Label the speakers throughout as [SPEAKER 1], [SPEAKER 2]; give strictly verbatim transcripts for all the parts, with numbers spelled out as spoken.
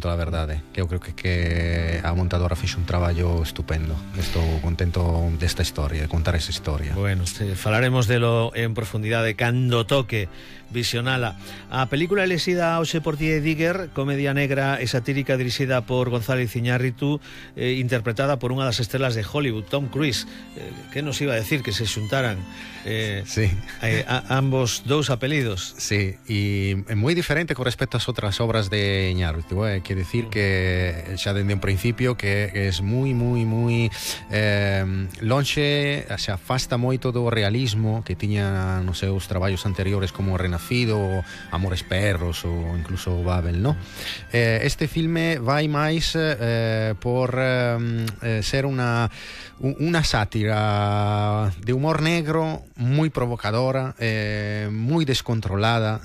[SPEAKER 1] La verdade, que eu creo que, que a montadora fixo un traballo estupendo. Estou contento desta historia, de contar esa historia.
[SPEAKER 2] Bueno, falaremos de lo en profundidade cando toque visionala. A película elexida hoxe por ti é Digger, comedia negra e satírica dirixida por González Iñárritu, eh, interpretada por unha das estrelas de Hollywood, Tom Cruise. Eh, que nos iba a decir que se xuntaran eh,
[SPEAKER 1] sí.
[SPEAKER 2] eh, a, ambos dous apelidos?
[SPEAKER 1] Sí, e é moi diferente con respecto ás outras obras de Iñárritu, eh? Quer decir que xa dende un principio que é moi, moi, moi eh, lonxe, se afasta moito do realismo que tiña nos seus traballos anteriores como Renacido, Amores Perros ou incluso Babel, no? Eh, este filme vai máis eh, por eh, ser unha unha sátira de humor negro moi provocadora, eh, moi descontrolada,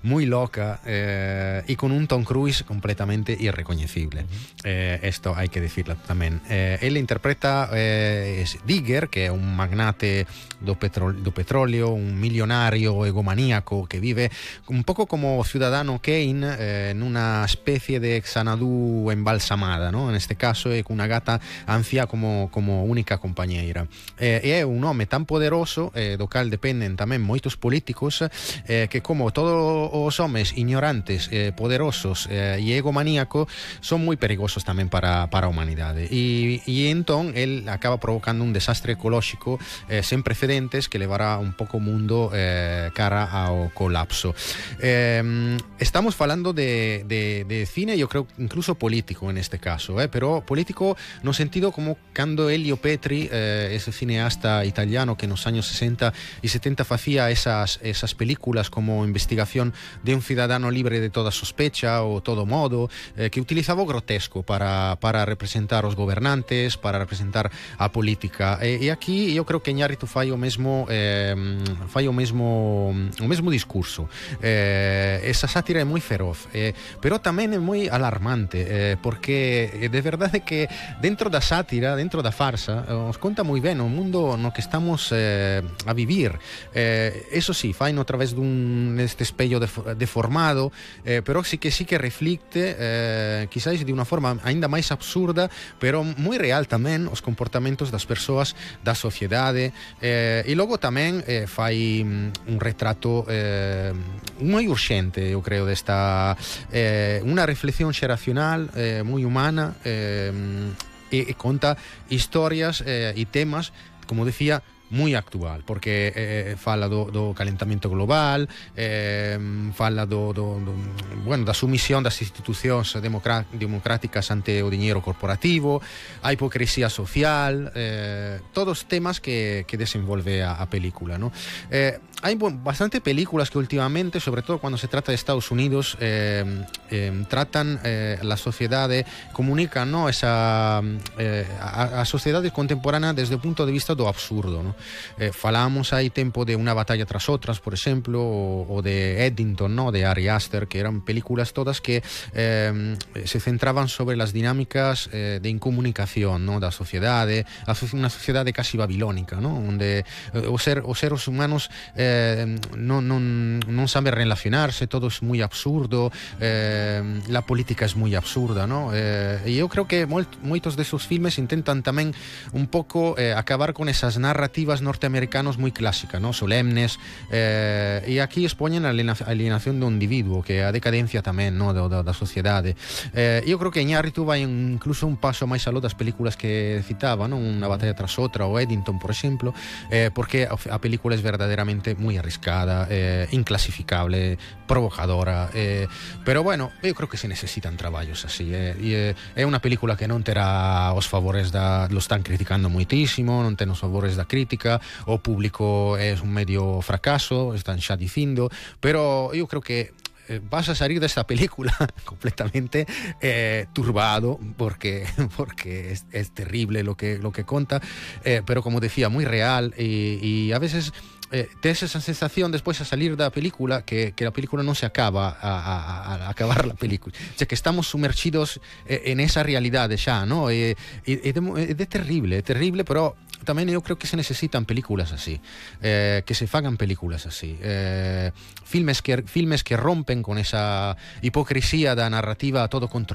[SPEAKER 1] moi loca, eh, e con un Tom Cruise completamente irrecoñecible. Eh, esto hai que decirlo tamén. Eh, ele interpreta eh, Digger, que é un magnate do, petro, do petróleo, un millonario egomaníaco que vive un pouco como o Ciudadano Kane, eh, nunha especie de Xanadu embalsamada, ¿no? En este caso é cunha gata anciá como, como única compañeira. Eh, e é un home tan poderoso, eh, do cal dependen tamén moitos políticos, eh, que como todos os homes ignorantes, eh, poderosos eh, e egomaníaco son moi perigosos tamén para, para a humanidade. E, e entón el acaba provocando un desastre ecolóxico eh, sen precedentes que levará un pouco o mundo eh, cara ao colapso. Eh, estamos falando de, de, de cine, eu creo incluso político en este caso, eh, pero político no sentido como cando Elio Petri, eh, ese cineasta italiano que nos años sesenta e setenta facía esas, esas películas como Investigación de un ciudadano libre de toda sospecha ou Todo modo, eh, que utilizaba o grotesco para, para representar os gobernantes, para representar a política. E, e aquí eu creo que Iñárritu fai o mesmo eh, fai o mesmo o mesmo discurso. Eh, esa sátira é moi feroz, eh, pero tamén é moi alarmante, eh, porque de verdade que dentro da sátira, dentro da farsa, os conta moi ben o mundo no que estamos eh, a vivir. Eh, eso sí, faino a través dun este espello deformado, eh, pero sí que sí que reflicte, eh, quizáis de unha forma aínda máis absurda, pero moi real tamén, os comportamentos das persoas da sociedade, eh, e logo tamén eh, fai un retrato eh, moi urxente, eu creo, desta eh, unha reflexión xeracional eh, moi humana, eh, e, e conta historias eh, e temas, como decía, moi actual, porque eh, fala do, do calentamento global, eh, fala do, do, do, bueno, da sumisión das institucións democráticas ante o diñeiro corporativo, a hipocresía social, eh, todos temas que, que desenvolve a, a película, ¿no? Eh, hai bueno, bastante películas que últimamente, sobre todo cuando se trata de Estados Unidos, eh, eh, tratan eh, la sociedade, comunican, ¿no? Esa, eh, a, a sociedade contemporánea desde o punto de vista do absurdo, ¿no? Eh, falamos hai tempo de Una batalla tras otras, por exemplo, o, o de Eddington, ¿no? De Ari Aster, que eran películas todas que eh, se centraban sobre las dinámicas eh, de incomunicación, ¿no? Da sociedade, a unha sociedade casi babilónica, ¿no? Onde eh, os, ser, os seres humanos eh, non, non, non saben relacionarse, todo é moi absurdo, eh, la política é moi absurda, ¿no? Eh, e eu creo que moitos desos filmes intentan tamén un pouco eh, acabar con esas narrativas norteamericanos moi clásicas, ¿no? Solemnes, eh, e aquí expoñen a alienación do individuo, que é a decadencia tamén, ¿no? da, da, da sociedade. Eh, eu creo que Iñárritu vai incluso un paso máis aló das películas que citaba, ¿no? Una batalla tras outra, ou Eddington, por exemplo, eh, porque a película é verdadeiramente moi arriscada, eh, inclasificable, provocadora, eh, pero bueno, eu creo que se necesitan traballos así, eh, e é unha película que non terá os favores da, lo están criticando moitísimo, non ten os favores da crítica, o público é un medio fracaso, están xa dicindo, pero eu creo que vas a salir de esta película completamente eh, turbado, porque porque es, es terrible lo que lo que conta, eh, pero como decía, muy real, y, y a veces eh, tes esa sensación despois a salir da película que, que a película non se acaba a, a, a acabar la película, o sea, que estamos sumergidos en esa realidade xa, ¿no? E, e, e de, é de terrible, é terrible, pero tamén eu creo que se necesitan películas así, eh, que se fagan películas así, eh, filmes que filmes que rompen con esa hipocresía da narrativa a todo control.